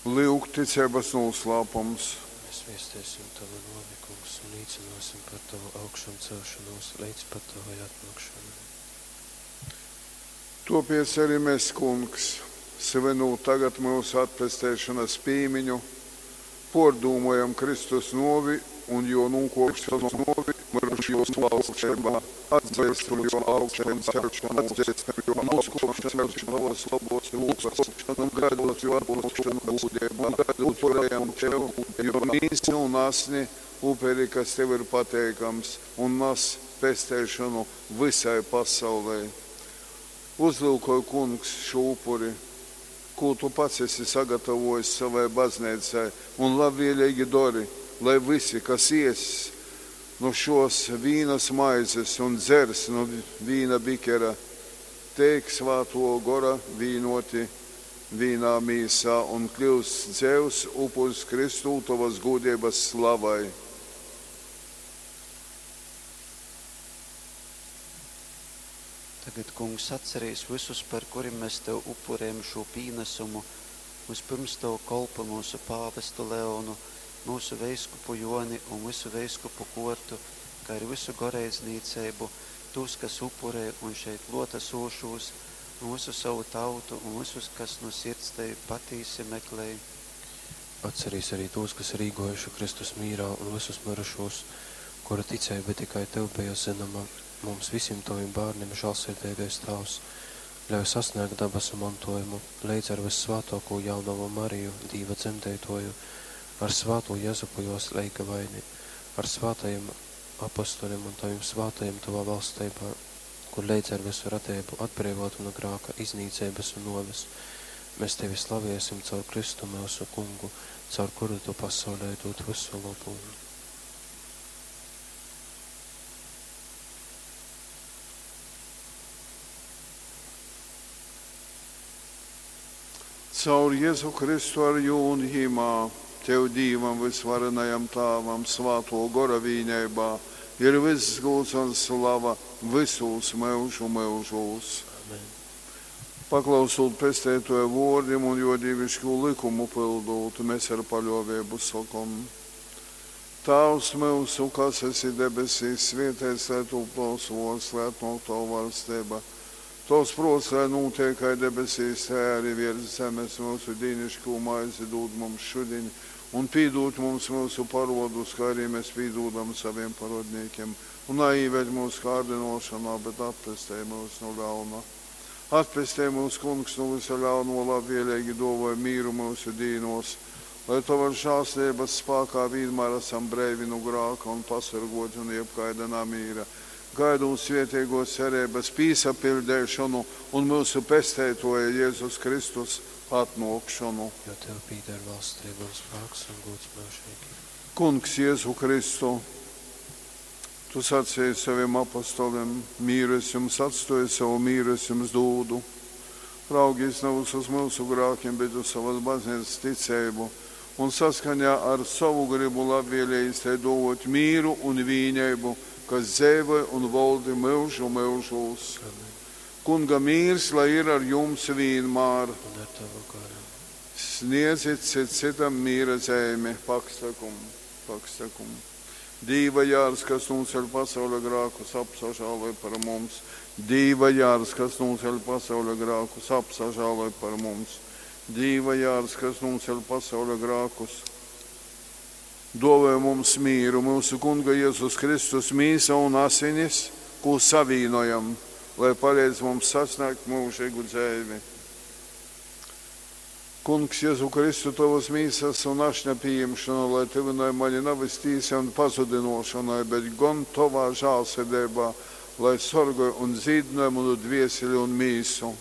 Lyuk, ticeibas nūslāpums. Mēs viesteisim Tavu nōvi, Kungs, un līcināsim par Tavu augšamcelšanos līdz pat Tavai atnākšanai. Tōpēc arī mēs, Kungs, svinūt tagad myusu atpesteišonas pīmiņu, pōrdūmojam Kristus nōvi un jō nūkōpšanos nu myrušūs valsteibā, atzeistam jō augšamceļšonūs un uzkōpšonu pi tovas lobōs rūkas un gaidot jō atnōkšonu gūdeibā, upurejam tev jō mīsu un asni, uperi, kas tev ir pateikams un nas pesteišonu vysai pasaulei. Uzlyukoj, Kungs, šū upuri, kū tu pats esi sagatavōjis sovai bazneicai un labvēleigi dori, lai vysi, kas ēss nu šōs vīnas maizes un dzers nu vīna bikera, teik Svātō Gora vīnōti vīnā mīsā un kļyust dzeivs upurs Kristū tovas gūdeibas slavai. Tagad, Kungs, atcerīs vysus, par kurim mēs tev upurējam šū pīnesumu, vyspyrms tovu kolpu myusu pāvestu Leonu, myusu veiskupu Joni un vysu veiskupu kōrtu, kā arī vysu goreidznīceibu, tūs, kas upurē un šeit klōtasūšūs, un vysu savu tautu un vysus, kas nu sirds tevi patīsi meklej. Atcerīs arī tos, kas ir īgōjuši Kristus mīrā un visus mirušos, kuru ticeiba tikai Tev bija zināma, mums visiem Taviem bērniem žēlsirdīgais Tēvs, ļauj sasniegt dabasu mantojumu, līdz ar vissvētāko jaunavu Mariju, Dīva dzemdētoju, ar svāto Jezupu jos leigavaini, ar svātajiem apostoļiem un taviem svātajiem tavā valstībā, kur līdz ar visu radību atbrīvotu no grāka, iznīcības un noves. Mēs tevi slaviesim caur Kristu mūsu kungu, caur kuru tu pasaulē dod visu labumu. Caur Jēzu Kristu ar jū un Jimā, Tev Dīvam vysvarenajam Tāvam, Svātō Gora vīneibā, ir vyss gūds un slava vysūs myužu myužūs. Amen. Paklausūt Pesteitoja vōrdim un jō dīviškū lykumu pyldūt, mēs ar paļōveibu sokom. Tāvs myusu, kas esi debesīs, svēteits lai tūp tovs vōrds, lai atnōk tova valsteiba. Tovs prōts, lai nūtiek kai debesīs, tai arī virs zemes. Mūsu dīnišķo maizi dūd mums šudiņ, un pīdūd mums mūsu parodus, kā arī mēs pīdūdam saviem parodniekiem. Un neīved mūsu kārdinošanā, bet atpestej mūs no ļauna. Atpestej mūs, Kungs, no visa ļauno labvēlīgi dāvāj mīru mūsu dīnos, lai tavas žēlstības spēkā vienmēr esam breivi no grāka un pasargoti no jebkaida namīra. Gaidot svētīgo cerības pīsapildēšanu un mūsu pesteitoja Jēzus Kristus atnākšanu. Jo Tev pīder valstība un spēks un gods mūžīgi. Kungs Jēzu Kristu, Tu sacīji saviem apostoliem, mīru es jums atstoju, savu mīru es jums dūdu. Raugīs nevis uz mūsu grākiem, bet uz savas baznīcas ticību, un saskaņā ar savu gribu labvēlējis te dot mīru un vīneibu, kas dzēvoja un valdi mūžu mūžūs. Amen. Kunga mīrs, lai ir ar jums vienmēr. Un ar Tavu garu. Sniedzit cit citam mīra zīmi, pakstakum, pakstakum. Dīva jārs, kas nūceļ pasaules grākus, apsažāloj par mums. Dīva jārs, kas nūceļ pasaules grākus, apsažāloj par mums. Dīva jārs, kas nūceļ pasaules grākus, dāvāj mums mīru, mūsu Kunga Jēzus Kristus mīsa un asinis, ko savīnojam, lai palīdz mums sasniegt mūžīgu dzīvi. Kungs, Jēzu Kristu, tavas mīsas un ašņa pieņemšanu, lai tevinoja mani nevis tīsa un pazudinošanai, bet gan tavā žālsirdībā, lai sorgoj un dzīdinoja manu dvieseli un mīsu.